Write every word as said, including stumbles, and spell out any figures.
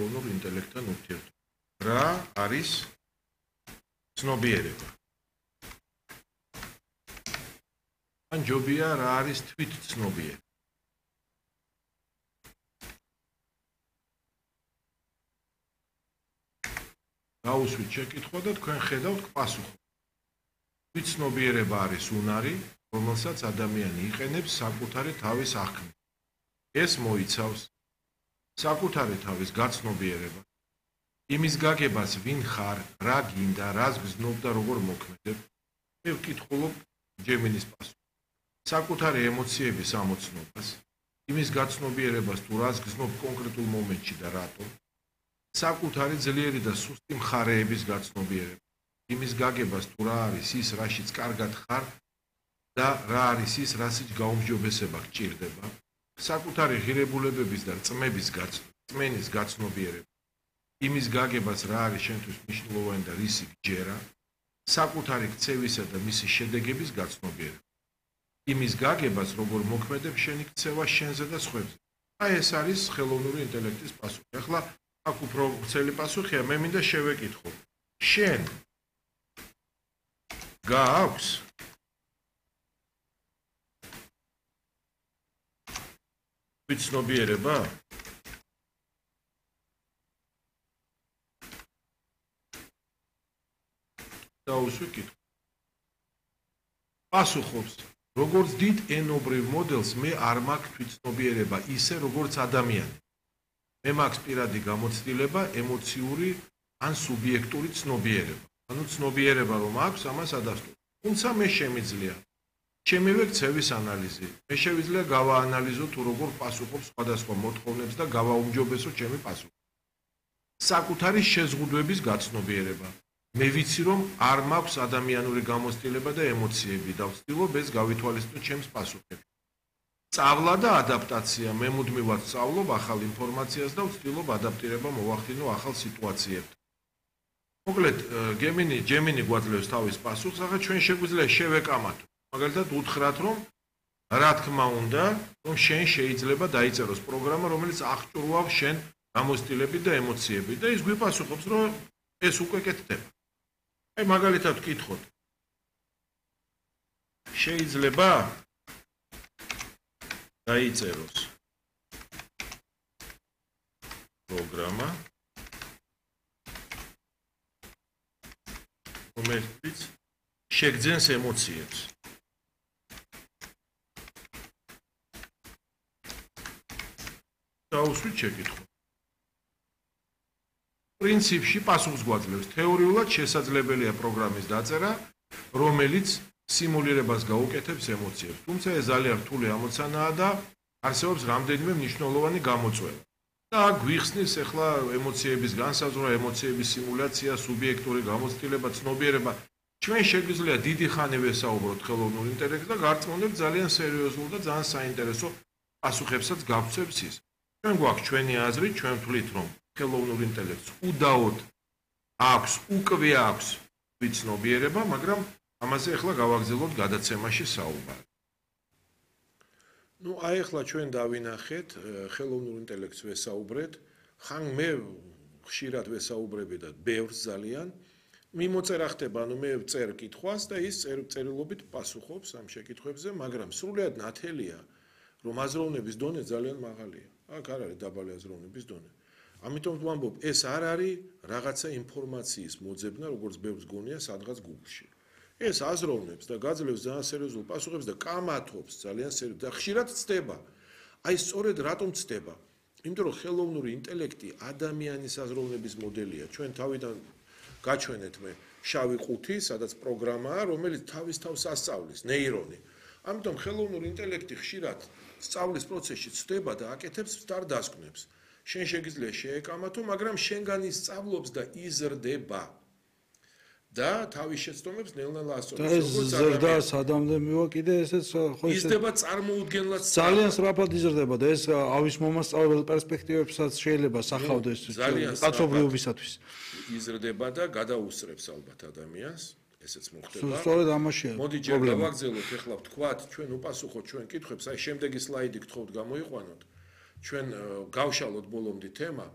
ხელოვნურ ინტელექტთან ურთიერთობა. რა არის ცნობიერება? ან ჯობია რა არის თვით ცნობიერება? გაუსვით შეკითხვა და თქვენ ხედავთ პასუხს. თვით ცნობიერება არის უნარი, რომელსაც ადამიანი იყენებს საკუთარი თავის აღქმით. ეს მოიცავს საკუთარი თავის გაცნობიერება, იმის გაგებას, ვინ ხარ, რა გინდა, რას გზნობ და როგორ მოქმედებ. მე ვკითხულობ ჯემინის პასუხს. საკუთარი ემოციების ამოცნობას, იმის გაცნობიერებას თუ რას გზნობ კონკრეტულ მომენტში და რატომ. საკუთარი ძლიერი და სუსტი მხარეების გაცნობიერება, იმის გაგებას თუ რა არის ის, რაშიც კარგად ხარ და რა არის ის, რასაც გაუმჯობესება გჭირდება. საკუთარი ღირებულებების და რწმების რწმენის გაცნობიერება, იმის გაგებას რა არის შენთვის მნიშვნელოვანი და რისი გჯერა, საკუთარი ქცევისა და მისი შედეგების გაცნობიერება, იმის გაგებას როგორ მოქმედებ შენი ქცევა შენზე და სხვებზე. აი ეს არის ხელოვნური ინტელექტის პასუხი. ახლა აქ უფრო ვრცელი პასუხია, მე მინდა შევეკითხო. შენ გააქვს ცნობიერება? დაუსვი კითხვა. პასუხობს, როგორც დიდ ენობრივ მოდელს მე არ მაქვს თვითცნობიერება ისე როგორც ადამიანი. მე მაქვს პირადი გამოცდილება, ემოციური ან სუბიექტური ცნობიერება. ანუ ცნობიერება რომ აქვს, ამას ადასტურებ. თუმცა მე შემიძლია ჩემივე ქცევის ანალიზი. მე შევიძლია გავაანალიზო თუ როგორ პასუხობს სხვადასხვა მოთხოვნებს და გავაუმჯობესო ჩემი პასუხი. საკუთარი შეზღუდვების გაცნობიერება. მე ვიცი რომ არ მაქვს ადამიანური გამოცდილება და ემოციები და ვცდილობ ეს გავითვალისწინო ჩემს პასუხებში. სწავლა და ადაპტაცია. მე მუდმივად სწავლობ ახალ ინფორმაციას და ვცდილობ ადაპტირება მოვახდინო ახალ სიტუაციებთან. მოკლედ, გემინი, ჯემინი გვაძლევს თავის პასუხს, ახლა ჩვენ შეგვიძლია შევეკამათო. მაგალითად უთხრათ რომ რა თქმა უნდა რომ შენ შეიძლება დაიწეროს პროგრამა რომელიც აღჭურვავს შენ გამოცდილები და ემოციები და ის გვიპასუხობს რომ ეს უკვე კეთდება. აი მაგალითად ვკითხოთ. შეიძლება დაიწეროს პროგრამა რომელიც შეგძენს ემოციებს. დაუსვით შეკითხვა. პრინციპში პასუხს გვაძლევს. თეორიულად შესაძლებელია პროგრამის დაწერა, რომელიც სიმულირებას გაუკეთებს ემოციებს. თუმცა ეს ძალიან რთული ამოცანაა და არსებობს რამდენიმე მნიშვნელოვანი გამოწვევა. და აქ გვიხსნის ახლა ემოციების განსაზღვრა, ემოციების სიმულაცია, სუბიექტური გამოცდილება, ცნობიერება. ჩვენ შეგვიძლია დიდი ხანი ვესაუბროთ ხელოვნურ ინტელექტს და გარწმუნებთ ძალიან სერიოზულ და ძალიან საინტერესო პასუხებსაც გავცემს ის. ჩვენ გვაქვს ჩვენი აზრი, ჩვენ ვთვლით რომ ხელოვნურ ინტელექტს უდაოდ აქვს, უკვე აქვს თვითცნობიერება, მაგრამ ამაზე ახლა გავაგრძელოთ გადაცემაში საუბარი. ნუ აი ახლა ჩვენ დავინახეთ ხელოვნურ ინტელექტს ვესაუბრეთ, ხან მე ხშირად ვესაუბრები და ბევრს ძალიან მიმოწერა ხდება, ანუ მე ვწერ კითხვას და ის წერილობით პასუხობს ამ შეკითხვებზე, მაგრამ სრულად ნათელია რომ აზროვნების დონე ძალიან მაღალია. აქ არ არის დაბალი აზროვნების დონე. ამიტომ ვამბობ, ეს არ არის რაღაცა ინფორმაციის მოძებნა, როგორც ბევრს გონია სადღაც Google-ში. ეს აზროვნებს და გაძლევს ძალიან სერიოზულ პასუხებს და კამათობს ძალიან სერიოზულად და ხშირად ცდება. აი სწორედ რატომ ცდება? იმიტომ რომ ხელოვნური ინტელექტი ადამიანის აზროვნების მოდელია. ჩვენ თავიდან გაჩვენეთ მე შავი ყუთი, სადაც პროგრამაა, რომელიც თავის თავს ასწავლის, ნეირონი. ამიტომ ხელოვნური ინტელექტი ხშირად სწავლის პროცესში ცდება და აკეთებს სტარდასკვნებს. შენ შეგიძლია შეეკამათო, მაგრამ შენგან ისწავლობს და იზრდება. და თავის შეცდომებს ნელ-ნელა ასწავლებს. ეს ზრდა სადამდე მივა კიდე ესეც ხო ისე იზრდება წარმოუდგენლად ძალიან სწრაფად იზრდება და ეს ავის მომასწავლებელი პერსპექტივებსაც შეიძლება სახავდეს კაცობრიობისათვის. იზრდება და გადაუსწრებს ალბათ ადამიანს. ესეც მოხდება. სწორედ ამაშია. მოდი ჯერ გავაგზავნოთ ახლა ვთქვათ, ჩვენ უპასუხოთ ჩვენ კითხვებს, აი შემდეგი სლაიდი გთხოვთ გამოიყვანოთ. ჩვენ გავშალოთ ბოლომდე თემა